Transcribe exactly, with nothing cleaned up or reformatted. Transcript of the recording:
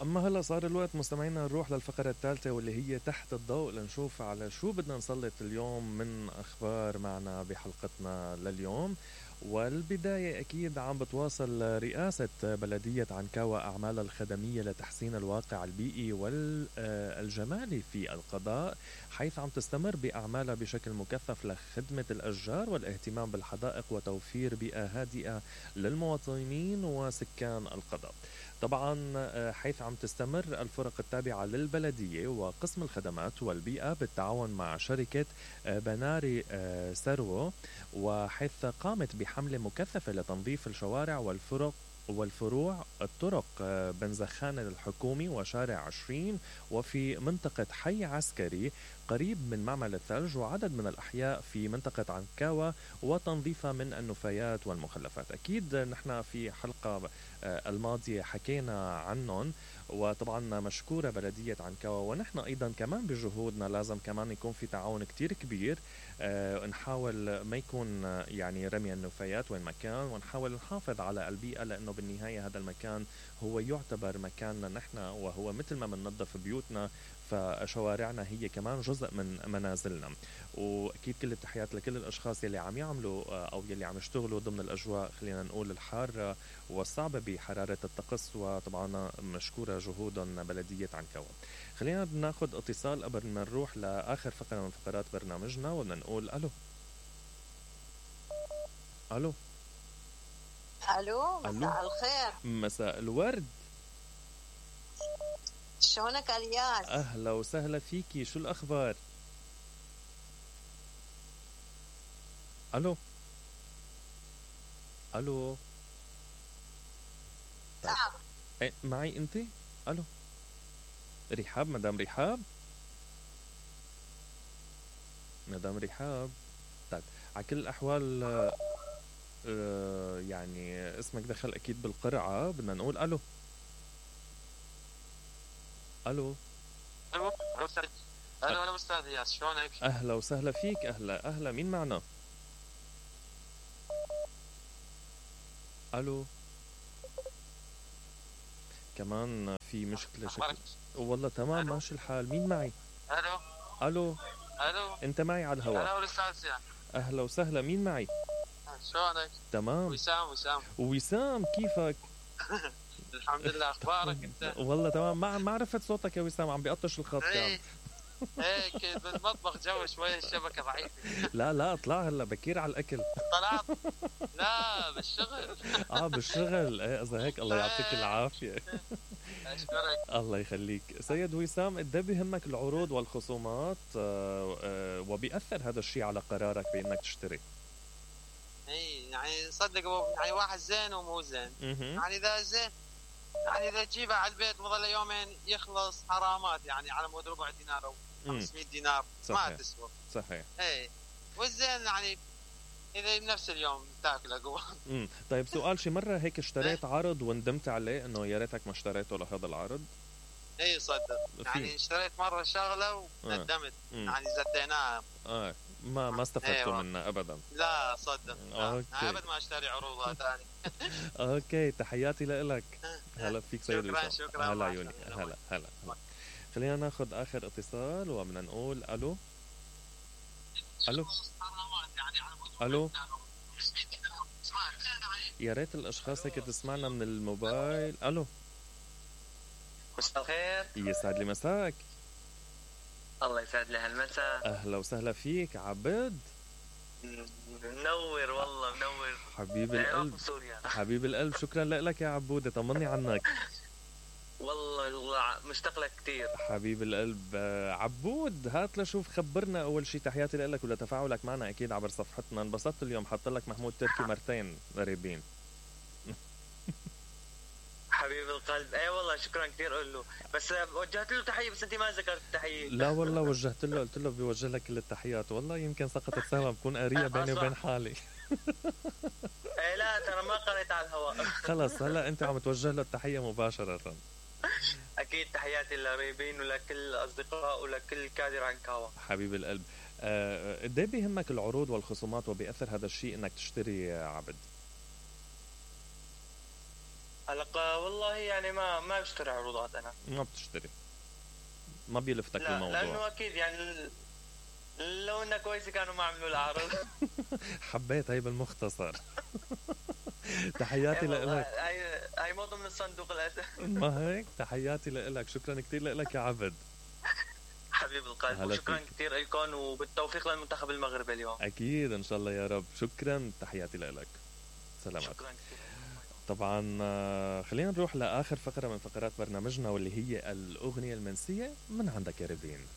أما هلأ صار الوقت مستمعينا نروح للفقرة الثالثة واللي هي تحت الضوء لنشوف على شو بدنا نسلط اليوم من أخبار معنا بحلقتنا لليوم. والبداية أكيد عم بتواصل رئاسة بلدية عنكاوى أعمالها الخدمية لتحسين الواقع البيئي والجمالي في القضاء، حيث عم تستمر بأعمالها بشكل مكثف لخدمة الأشجار والاهتمام بالحدائق وتوفير بيئة هادئة للمواطنين وسكان القضاء. طبعا حيث عم تستمر الفرق التابعة للبلدية وقسم الخدمات والبيئة بالتعاون مع شركة بناري سرو، وحيث قامت بحملة مكثفة لتنظيف الشوارع والفرق والفروع الطرق بنزخان الحكومي وشارع عشرين وفي منطقة حي عسكري قريب من معمل الثلج وعدد من الأحياء في منطقة عنكاوى وتنظيفها من النفايات والمخلفات. أكيد نحن في حلقة الماضية حكينا عنهم، وطبعا مشكورة بلدية عنكاوى، ونحن أيضا كمان بجهودنا لازم كمان يكون في تعاون كتير كبير. أه نحاول ما يكون يعني رمي النفايات وين مكان، ونحاول نحافظ على البيئة، لأنه بالنهاية هذا المكان هو يعتبر مكاننا نحن، وهو مثل ما بننظف بيوتنا فشوارعنا هي كمان جزء من منازلنا. وأكيد كل التحيات لكل الأشخاص يلي عم يعملوا أو يلي عم يشتغلوا ضمن الأجواء خلينا نقول الحارة والصعبة بحرارة الطقس، وطبعا مشكورة جهودهم بلدية عنكاوى. خلينا ناخد اتصال قبل ما نروح لآخر فقرة من فقرات برنامجنا وبدنا نقول ألو. ألو ألو، مساء الخير. مساء الورد. شلونك الياس؟ أهلا وسهلا فيكي، شو الأخبار؟ ألو ألو طيب. نعم. إيه معي أنت؟ ألو رحاب، مدام رحاب، مدام رحاب. طيب على كل الأحوال آه يعني اسمك دخل أكيد بالقرعة، بدنا نقول ألو. ألو ألو ألو أستاذ ألو ألو أستاذ ياس، شلونك؟ أهلا وسهلا فيك. أهلا أهلا، مين معنا؟ ألو كمان في مشكلة شكل. والله تمام ماشي الحال. مين معي؟ ألو ألو ألو أنت معي على الهواء. أنا الأستاذ زياد. أهلا وسهلا، مين معي؟ شلونك؟ تمام. وسام. وسام وسام كيفك؟ الحمد لله، أخبارك أنت؟ والله تمام. ما ما عرفت صوتك يا وسام، عم بيقطش الخط كان. هيك بالمطبخ جو شوي الشبكة ضعيفة. لا لا اطلع هلا بكير على الأكل. طلعت؟ لا بالشغل. اه بالشغل. ايه إذا هيك الله يعطيك العافية. أشكرك. الله يخليك سيد وسام. قد بيهمك العروض والخصومات آه آه وبيأثر هذا الشيء على قرارك بأنك تشتري؟ اي يعني صدق يعني واحد زين ومو زين. يعني إذا زين يعني إذا تجيبه على البيت مظل يومين يخلص حرامات، يعني على مود ربع دينار أو خمسمية دينار ما تسوى. صحيح. اي والزين يعني إذا بنفس اليوم تاكله قوة. امم طيب سؤال، شي مرة هيك اشتريت عرض وندمت عليه انه يا ريتك ما اشتريته لهذا العرض؟ اي صدق يعني اشتريت مرة شغلة وندمت. آه. يعني زتيناها. اه ما ما استفدتوا منها ابدا. لا صدق. اوكي. ابد ما اشتري عروضها ثاني. اوكي تحياتي لك. هلا فيك سيد وسام. شكرا شكرا. هلا عيوني. هلا هلا. خلينا ناخذ اخر اتصال وبدنا نقول الو. الو الو. يا ريت الاشخاص هيك تسمعنا من الموبايل. الو مساء الخير. يسعد لي مساك. الله يسعد لي هالمساء. اهلا وسهلا فيك عبد. منور والله منور حبيب القلب. حبيب القلب شكرا لك يا عبودة، طمني عنك. والله مشتاق لك كثير حبيب القلب. عبود هات لشوف خبرنا اول شيء، تحياتي لك ولتفاعلك معنا اكيد عبر صفحتنا. انبسطت اليوم، حط لك محمود تركي مرتين قريبين. حبيب القلب. اي والله شكرا كثير قول له، بس وجهت له تحيه بس انت ما ذكرت التحيه. لا والله وجهت له، قلت له بيوجه لك كل التحيات. والله يمكن سقطت سهوا، بكون قاريه بيني وبين حالي. ايه لا ترى ما قريت على الهواء. خلص هلا انت عم توجه له التحيه مباشره. اكيد تحياتي للقريبين ولكل الاصدقاء ولكل كادر عنكاوى. حبيب القلب. قد ايه بيهمك العروض والخصومات وبيأثر هذا الشيء انك تشتري يا عبد؟ هلا والله يعني ما ما بشتري عروضات انا. ما بتشتري، ما بيلفتك لا الموضوع. لانه اكيد يعني لو انها كويسه كانوا ما عملوا لها عرض. حبيت هي بالمختصر. تحياتي لك. هاي هاي مو ضمن الصندوق الاسد. ما هيك؟ تحياتي لك، شكرا كثير لك يا عبد. حبيب القلب، وشكرا كثير لكم وبالتوفيق للمنتخب المغربي اليوم. اكيد ان شاء الله يا رب. شكرا، تحياتي لك. سلامات. شكرا كثير. طبعا خلينا نروح لاخر فقره من فقرات برنامجنا واللي هي الاغنيه المنسيه. من عندك يا ريفين؟